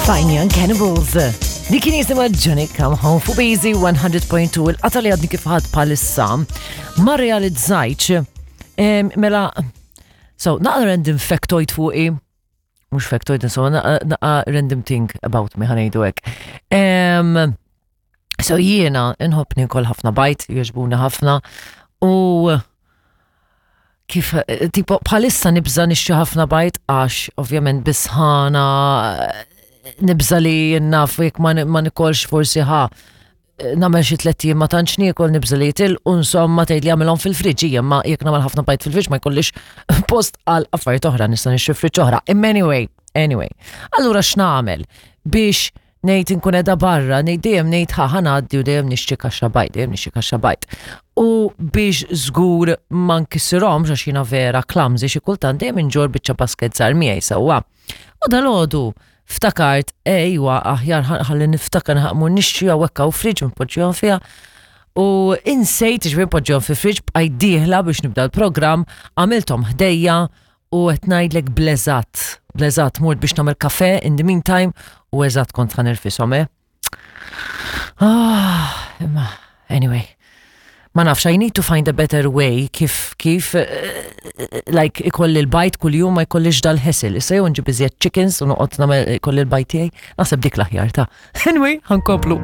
Fine Young Cannibals. Li kien jisimha Johnny Come Home fuq Easy 100.2 il-qata li għadni kif ħadd bħalissa ma realizzajtx mela so naqra random factoid fuqi mhux factoid insomma naqa random thing about me ħanejdu hekk. So jiena nħobb nikol ħafna bajt, jogħġbuni ħafna u kif tipo bħalissa nibża nixtri ħafna bajt għax ovvjament bisħana nibża li naf jekk ma nikolx forsi ħa nagħmel xi tlett ijiem ma tantx niekol nibża li jitilqu insomma tgħid li għamilhom fil-friġġ hija ma jekk nagħmel ħafna bajt fil-friġġ ma jkollix post għal affarijiet oħra nista' nixtri friġġ oħra. Imma anyway, anyway. Allura x'nagħmel biex ngħid inkun qiegħda barra, ngħid dejjem ngħid ħa ngħaddi u dejjem nixtri kaxxa bajt, dejjem nixtri kaxxa bajt. U biex żgur ma nkissirhomx għax jiena vera clumsy xi kultant dejjem inġorr biċċa basket żgħar miegħi sewwa. U dalgħodu ftakart, ejwa aħjar ħalli niftakar nħaqmu nixtri hawnhekk hawn friġġ npoġġihom fiha. U insejt ġifieri npoġġihom fi friġġ bqajt dieħla biex nibda l-programm, għamilthom ħdejja u qed ngħidlek bleżat, bleżat mort biex nagħmel kafe in the meantime u eżatt kont ħa nirfishom, eh. Ah, imma anyway. Ma nafx, I need to find a better way kif kif eh, like ikolli l-bajt kuljum ma jkollix dal-ħesil. Issa jew nġib iżjed chickens u noqgħod nagħmel ikolli l-bajt tiegħi, naħseb dik l-aħjar ta'. Anyway, ħankomplu.